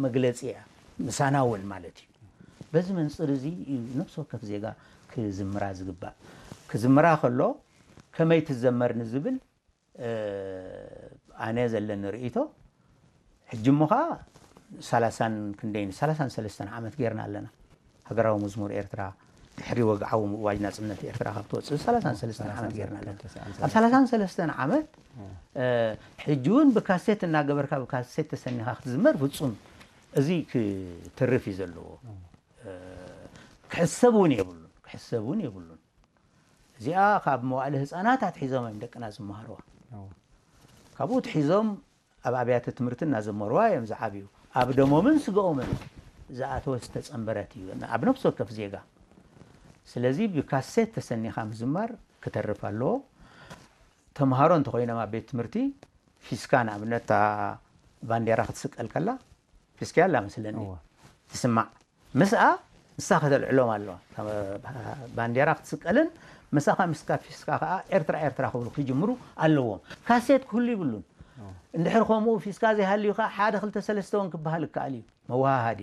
መግለፂ እያ፣ ምሳና እውን ማለት እዩ። በዚ መንፅር እዚ እዩ ነፍሲ ወከፍ ዜጋ ክዝምራ ዝግባእ። ክዝምራ ከሎ ከመይ ትዘመር ንዝብል ኣነ ዘለኒ ርእይቶ፣ ሕጂ እሞ ኸዓ ሰላሳን ክንደይን፣ ሰላሳን ሰለስተን ዓመት ጌርና ኣለና። ሃገራዊ መዝሙር ኤርትራ ድሕሪ ወግዓዊ ምእዋጅ ናጽነት ኤርትራ ካብ ትወጽእ ሰላሳን ሰለስተን ዓመት ጌርና ኣለና። ኣብ ሰላሳን ሰለስተን ዓመት ሕጂ እውን ብካሴት እናገበርካ ብካሴት ተሰኒኻ ክትዝመር ፍጹም እዚ ክትርፍ እዩ ዘለዎ። ክሕሰብ እውን የብሉን፣ ክሕሰብ እውን የብሉን። እዚኣ ካብ መዋእለ ህፃናት ኣትሒዞም እዮም ደቅና ዝመሃርዋ። ካብኡ ትሒዞም ኣብ ኣብያተ ትምህርቲ እናዘመርዋ እዮም ዝዓብዩ። ኣብ ደሞምን ስገኦምን ዝኣተወ ዝተፀንበረት እዩ ኣብ ነፍሲ ወከፍ ዜጋ። ስለዚ ብካሴት ተሰኒኻ ምዝማር ክተርፍ ኣለዎ። ተምሃሮ እንተኾይኖም ኣብ ቤት ትምህርቲ ፊስካ ንኣብነት እታ ባንዴራ ክትስቀል ከላ ፊስካ ኣላ መስለኒ ትስማዕ። ምስኣ ንሳ ከተልዕሎም ኣለዋ። ባንዴራ ክትስቀልን ምሳኻ ምስካ ፊስካ ከዓ ኤርትራ ኤርትራ ክብሉ ክጅምሩ ኣለዎም። ካሴት ክህሉ ይብሉን። እንድሕር ከምኡ ፊስካ ዘይሃልዩ ከዓ ሓደ ክልተ ሰለስተ እውን ክበሃል ይከኣል እዩ። መወሃሃዲ።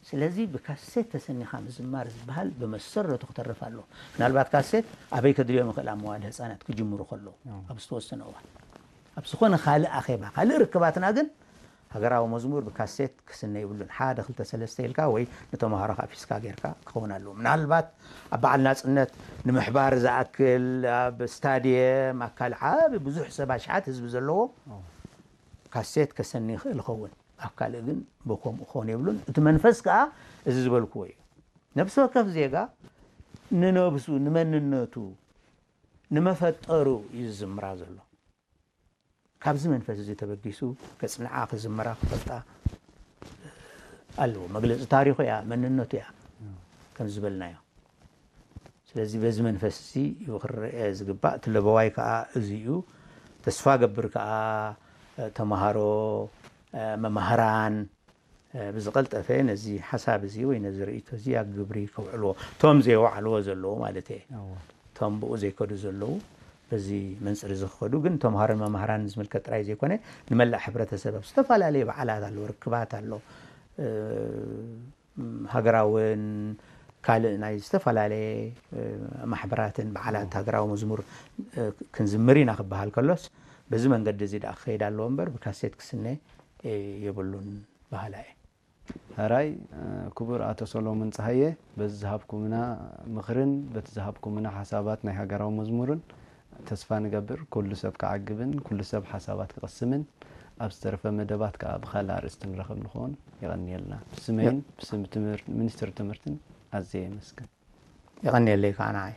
ስለዚ ብካሴት ተሰኒኻ ምዝማር ዝበሃል ብመሰረቱ ክተርፍ ኣለዎ። ምናልባት ካሴት ኣበይ ከድልዮም ይኽእል ኣብ መዋለ ህፃናት ክጅምሩ ከለዉ ኣብ ዝተወሰነ እዋን ኣብ ዝኾነ ካልእ ኣኼባ ካልእ ርክባትና ግን ሃገራዊ መዝሙር ብካሴት ክስነ ይብሉን። ሓደ ክልተ ሰለስተ ኢልካ ወይ ንተምሃሮ ካብ ፊስካ ጌርካ ክኸውን ኣለዎ። ምናልባት ኣብ በዓል ናጽነት ንምሕባር ዝኣክል ኣብ ስታድየም ኣካል ዓቢ ብዙሕ ሰብ ኣሽሓት ህዝቢ ዘለዎ ካሴት ከሰኒ ይኽእል ይኸውን። ኣብ ካልእ ግን ብከምኡ ክኸውን የብሉን። እቲ መንፈስ ከኣ እዚ ዝበልክዎ እዩ። ነፍሲ ወከፍ ዜጋ ንነብሱ ንመንነቱ ንመፈጠሩ እዩ ዝዝምራ ዘሎ። ካብዚ መንፈስ እዚ ተበጊሱ ከጽንዓ ክዝምራ ክፈልጣ ኣለዎ። መግለጺ ታሪኹ እያ፣ መንነቱ እያ ከም ዝበልናዮ። ስለዚ በዚ መንፈስ እዚ እዩ ክረአ ዝግባእ። እቲ ለበዋይ ከዓ እዚ እዩ። ተስፋ ገብር ከዓ ተምሃሮ፣ መማህራን ብዝቐልጠፈ ነዚ ሓሳብ እዚ ወይ ነዚ ርእይቶ እዚ ኣብ ግብሪ ከውዕልዎ፣ እቶም ዘይወዓልዎ ዘለዉ ማለት እየ። እቶም ብኡ ዘይከዱ ዘለዉ በዚ መንፅር እዚ ክኸዱ ግን ተምሃሮን መማህራንን ዝምልከት ጥራይ ዘይኮነ ንመላእ ሕብረተሰብ ኣብ ዝተፈላለዩ በዓላት ኣሎ፣ ርክባት ኣሎ፣ ሃገራውን ካልእ ናይ ዝተፈላለየ ማሕበራትን በዓላት ሃገራዊ መዝሙር ክንዝምር ኢና ክበሃል ከሎስ በዚ መንገዲ እዚ ደኣ ክኸይድ ኣለዎ እምበር ብካሴት ክስነ የብሉን በሃላይ እየ። ሕራይ ክቡር ኣቶ ሰሎሞን ጸሃየ፣ በዚ ዝሃብኩምና ምኽርን በቲ ዝሃብኩምና ሓሳባት ናይ ሃገራዊ መዝሙርን ተስፋ ንገብር ኩሉ ሰብ ክዓግብን ኩሉ ሰብ ሓሳባት ክቕስምን ኣብ ዝተረፈ መደባት ከኣ ብኻልእ ኣርእስቲ ንራኸብ ንኸውን። የቐንየልና። ብስመይን ብስም ትምህር- ሚኒስትሪ ትምህርትን ኣዝየ የመስግን። የቐንየለይ ከዓ ንዓይ።